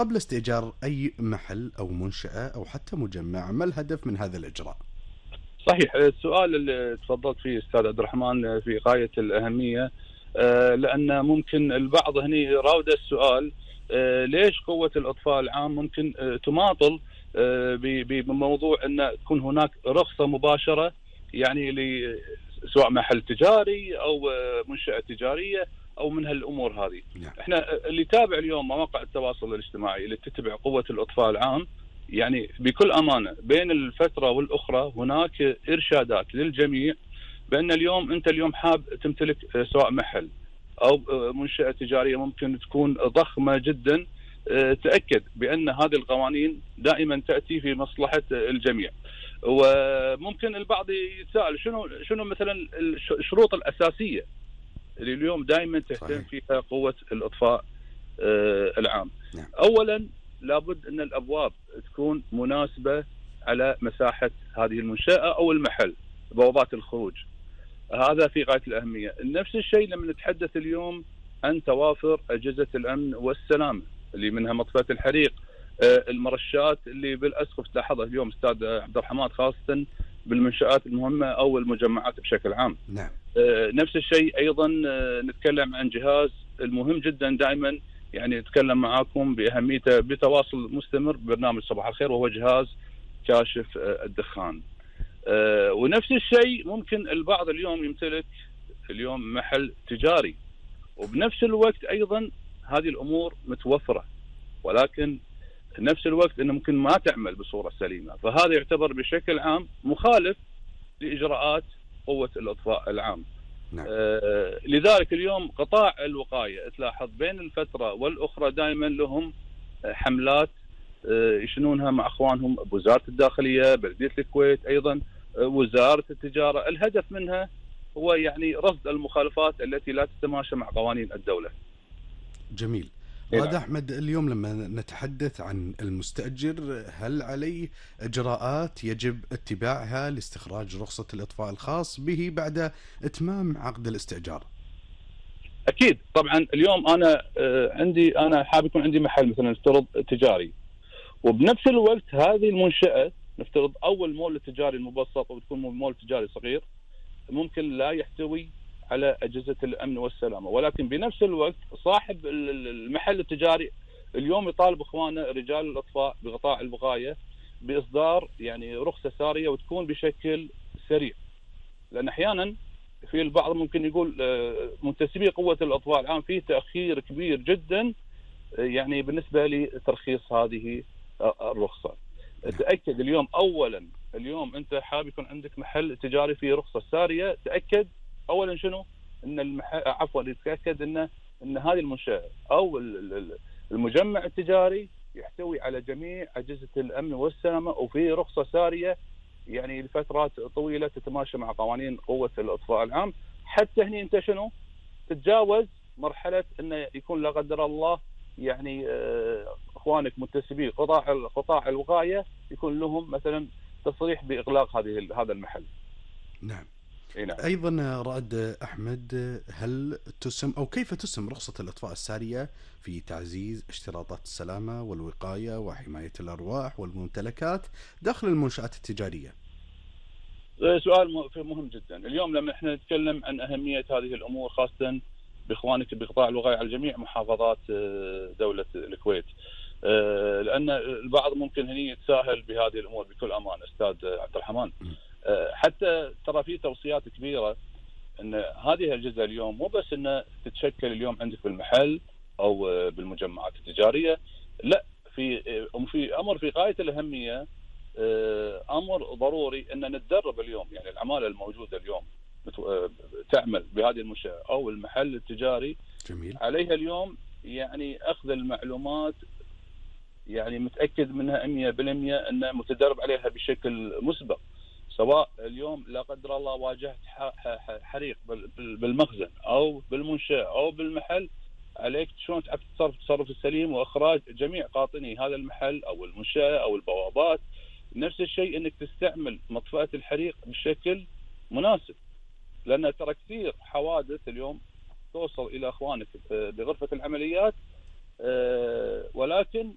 قبل استئجار أي محل أو منشأة أو حتى مجمع، ما الهدف من هذا الإجراء؟ صحيح، السؤال اللي تفضلت فيه أستاذ عبد الرحمن في غاية الأهمية. لأن ممكن البعض هني يراود السؤال، ليش قوة الإطفاء العام ممكن تماطل بموضوع أن تكون هناك رخصة مباشرة، يعني سواء محل تجاري أو منشأة تجارية أو من هالأمور هذه. نعم. احنا اللي يتابع اليوم مواقع التواصل الاجتماعي اللي تتبع قوة الإطفاء العام، يعني بكل أمانة بين الفترة والأخرى هناك إرشادات للجميع بأن اليوم أنت اليوم حاب تمتلك سواء محل أو منشأة تجارية ممكن تكون ضخمة جدا، تأكد بأن هذه القوانين دائما تأتي في مصلحة الجميع. وممكن البعض يتساءل شنو مثلا الشروط الأساسية اللي اليوم دائما تهتم فيها قوة الإطفاء العام. نعم. أولا لابد أن الأبواب تكون مناسبة على مساحة هذه المنشأة أو المحل، بوابات الخروج، هذا في غاية الأهمية. نفس الشيء لما نتحدث اليوم عن توافر أجهزة الأمن والسلامة اللي منها مطفاة الحريق، المرشات اللي بالأسقف تلاحظها اليوم أستاذ عبد الرحمن، خاصة بالمنشآت المهمة أو المجمعات بشكل عام. نعم. نفس الشيء أيضا نتكلم عن جهاز المهم جدا دائما، يعني نتكلم معاكم بأهميته بتواصل مستمر ببرنامج صباح الخير، وهو جهاز كاشف الدخان. ونفس الشيء ممكن البعض اليوم يمتلك اليوم محل تجاري، وبنفس الوقت أيضا هذه الأمور متوفرة، ولكن نفس الوقت أنه ممكن ما تعمل بصورة سليمة، فهذا يعتبر بشكل عام مخالف لإجراءات قوة الإطفاء العام. نعم. لذلك اليوم قطاع الوقاية تلاحظ بين الفترة والأخرى دائما لهم حملات يشنونها مع أخوانهم بوزارة الداخلية، بلدية الكويت، أيضا وزارة التجارة. الهدف منها هو يعني رصد المخالفات التي لا تتماشى مع قوانين الدولة. جميل. رائد أحمد، اليوم لما نتحدث عن المستأجر، هل عليه إجراءات يجب اتباعها لاستخراج رخصة الإطفاء الخاص به بعد إتمام عقد الاستئجار؟ أكيد طبعا. اليوم أنا حاب يكون عندي محل مثلا نفترض تجاري، وبنفس الوقت هذه المنشأة نفترض أول مول تجاري المبسط، أو تكون مول تجاري صغير ممكن لا يحتوي على أجهزة الأمن والسلامة، ولكن بنفس الوقت صاحب المحل التجاري اليوم يطالب إخوانه رجال الإطفاء بقطاع الوقاية بإصدار يعني رخصة سارية وتكون بشكل سريع. لأن أحيانا في البعض ممكن يقول منتسبي قوة الإطفاء العام فيه تأخير كبير جدا يعني بالنسبة لترخيص هذه الرخصة. تأكد اليوم أولا، اليوم أنت حاب يكون عندك محل تجاري فيه رخصة سارية، تأكد أولا شنو أن تتأكد أن هذه المنشأة أو المجمع التجاري يحتوي على جميع أجهزة الأمن والسلامة وفيه رخصة سارية يعني لفترات طويلة تتماشى مع قوانين قوة الإطفاء العام، حتى هني أنت شنو تتجاوز مرحلة أنه يكون لا قدر الله يعني اخوانك منتسبي قطاع الوقايه يكون لهم مثلا تصريح باغلاق هذا المحل. نعم. نعم. ايضا رائد احمد، هل تسم او كيف تسم رخصة الاطفاء السارية في تعزيز اشتراطات السلامة والوقاية وحماية الارواح والممتلكات داخل المنشآت التجارية؟ سؤال مهم جدا. اليوم لما احنا نتكلم عن اهمية هذه الامور خاصة باخوانك بقطاع الوقاية على جميع محافظات دولة الكويت، لان البعض ممكن هني يتساهل بهذه الامور بكل امان استاذ عبد الرحمن. حتى ترى في توصيات كبيرة ان هذه الاجهزة اليوم مو بس ان تتشكل اليوم عندك بالمحل او بالمجمعات التجارية، لا، في امر في غاية الاهمية، امر ضروري ان نتدرب اليوم. يعني العمالة الموجودة اليوم تعمل بهذه المنشأة او المحل التجاري، جميل. عليها اليوم يعني اخذ المعلومات يعني متأكد منها 100% انه متدرب عليها بشكل مسبق. سواء اليوم لا قدر الله واجهت حريق بالمخزن او بالمنشأة او بالمحل، عليك شلون تتصرف التصرف السليم واخراج جميع قاطني هذا المحل او المنشأة او البوابات. نفس الشيء انك تستعمل مطفأة الحريق بشكل مناسب، لان ترى كثير حوادث اليوم توصل الى اخوانك بغرفة العمليات، ولكن